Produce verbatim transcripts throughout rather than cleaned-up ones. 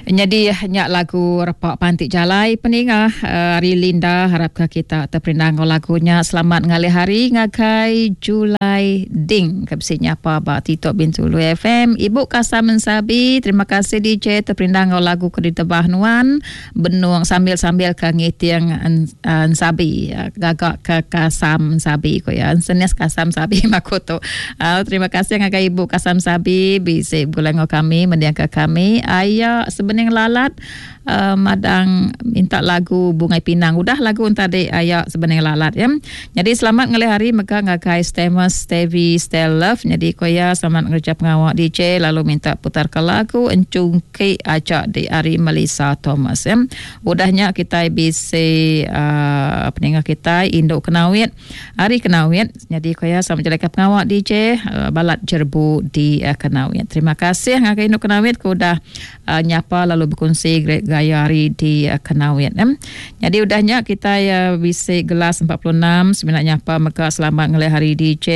Jadi nyak lagu repak pantik jalai peningah uh, hari Linda harapkan kita terperindang lagunya. Selamat ngalih hari ngagai Julai Ding ke nyapa ba Tito Bintulu F M. Ibu Kasam Mensabi, terima kasih D J terperindang lagu ke ditebah nuan benung sambil-sambil ke ngiting ensabi gagak ke Kasam Sabi ko ya. Senes Kasam Sabi makuto. Uh, terima kasih ngagai Ibu Kasam Sabi bisi begulai ngau kami mendiang ke kami. Aya sebenarnya lalat uh, madang minta lagu Bungai Pinang. Udah lagu tadi ayak sebenarnya lalat ya. Jadi selamat ngalih hari mega ngagai Stemus Stevie Stel Love. Jadi koya selamat ngerja pengawak D J lalu minta putar ke lagu Encungki Ajak di hari Melissa Thomas ya. Udahnya kita bisa uh, peninggal kita Induk Kenawit hari Kenawit. Jadi koya selamat jalan ke pengawak D J uh, balat jerbu di uh, Kenawit. Terima kasih ngagai Induk Kenawit ku udah uh, nyapa lalu berkongsi gaya hari di uh, Kenawit. Eh. Jadi udahnya kita uh, bisa gelas empat puluh enam sebenarnya apa maka selamat ngalih hari D J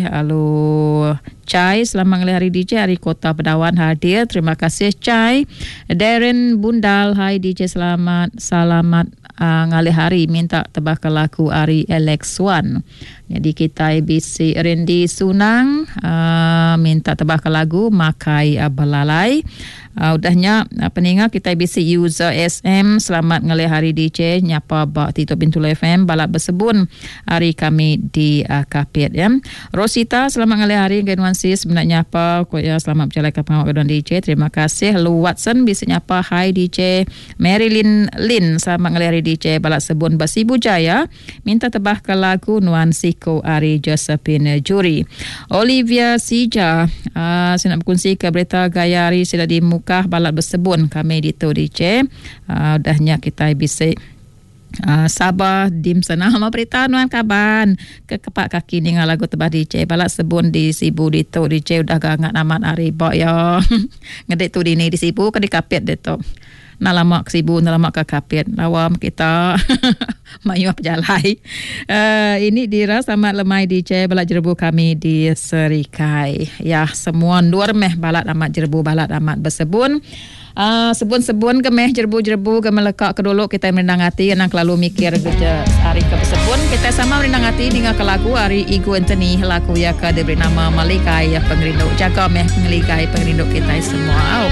lalu Chai selamat ngalih hari D J hari Kota Pedawan hadir. Terima kasih Chai. Darren Bundal hai D J selamat selamat uh, ngalih hari minta tebak lagu hari Alex Wan. Jadi kita B C Randy Sunang uh, minta tebak lagu Makai uh, Belalai. Uh, udahnya uh, peninga kita B C user S M selamat ngalih hari D J nyapa ba Tito Bintulu F M balap bersebun hari kami di uh, Kapit ya. Rosita selamat ngalih hari Genwan Sis sebenarnya nyapa ko ya selamat berjalan ke pengawak kedua D J. Terima kasih Lu Watson bisa nyapa hai D J. Marilyn Lin selamat ngalih hari D J balap sebun Basibu Jaya minta tebah ke lagu Nuan Siko Ari Josephine Juri. Olivia Sija uh, saya nak berkongsi ke berita gaya hari sudah di Mukah balap bersebun kami di tu D J. Uh, udahnya kita bisa Uh, Sabah dim sana sama berita nuan kaban ke kepak kaki ni lagu tebah D J balak sebun di Sibu di tu D J udah gangat amat hari bok ya. Ngedek tu dini di Sibu ke di Kapit dia tu. Nak lama ke Sibu, nak lama ke Kapit. Lawam kita mayu berjalai. Uh, ini Dira selamat lemai D J balak jerebu kami di Serikai. Ya, semua luar meh balak amat jerebu balak amat bersebun. Uh, sebun-sebun ke meh jerbu-jerbu ke melekak ke dulu kita merindang hati nang kelalu mikir kerja hari ke bersebun kita sama merindang hati dengan ke lagu hari Igu Anthony lagu ya ke diberi nama Malikai ya pengerindu jaga meh pengelikai pengerindu kita semua. Oh.